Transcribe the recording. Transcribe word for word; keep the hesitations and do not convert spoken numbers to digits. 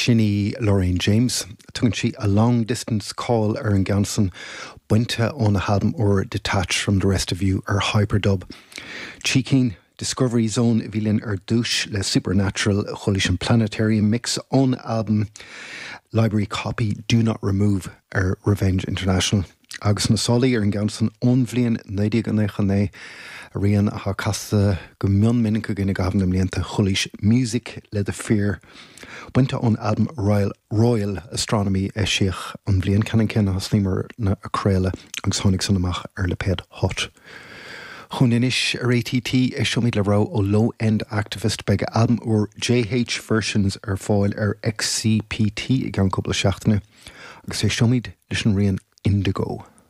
Sin í Lorraine James. Tugann sí a long distance call ar an gceann san bainte óna halbam úr Detached from the Rest of You ar Hyperdub. Trí cinn Discovery Zone a bhí linn ar dtús le Supernatural chualaís an Planetarium Mix ón albam Library Copy Do Not Remove ar Revenge International. Agus na sálaí ar an gceann san ón bhliain naoi déag nócha naoi a rian atá casta go mion minic againn i gcaitheamh na mblianta chualaís Music le The Fear. Bainte ón albam Royal, Royal Astronomy eisíodh an bhliain ceannann céanna a thosaíomar ag craoladh agus tháinig san amach ar lipéad Hot. Chun anois ar ATT éisteoimid le rogha ó Low End Activist beidh albam úr JH Versions ar fáil ar XCPT i gceann cúpla seachtaine agus éisteoimid leis an rian Indigo.